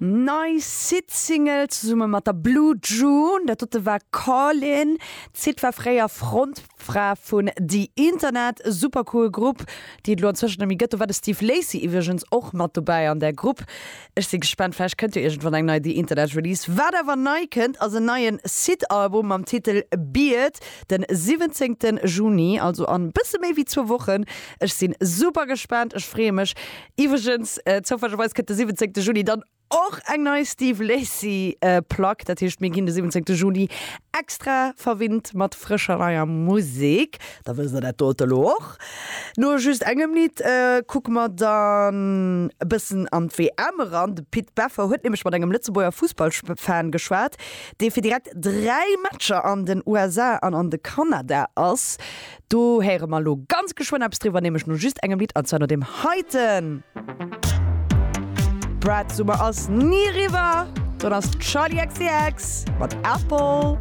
Nei Syd-Single zesumme mat der Blue June, dat dote war Callin'. D'Syd war fréier Frontfra vun The Internet, super cool Grupp, déi et elo anzwëschen net méi gëtt. Do war de Steve Lacy iwwregens och mat dobäi an där Grupp. Ech si gespaant, vläicht kënnt jo iergendwann eng nei The Internet Release. Wat awer nei kënnt, ass en neien Syd-Album mam Titel Beard, den 17 Juni, also an bësse méi wéi zwou Wochen. Ech sinn super gespaant, ech freeë mech. Iwwregens, zoufällegerweis kënnt de 17 Juni dann och eng nei Steve Lacy Plack, dat heescht mir ginn de 17 Juni extra verwinnt mat frëscher neier Musek. Da wësst der dat dote lo och. No just engem Lidd kucke mer dann e bëssen an d'WM eran. De Pit Beffer huet nämlech mat engem Lëtzebuerger Fussballfan geschwat, dee fir direkt 3 Matcher an den USA an an de Kanada ass. Do héiere mer lo ganz geschwënn eppes driwwer, nämlech no just engem Lidd, an zwar no deem heiten. Brat Summer ass ni eriwwer, don ass d'Charli XCX mat Apple.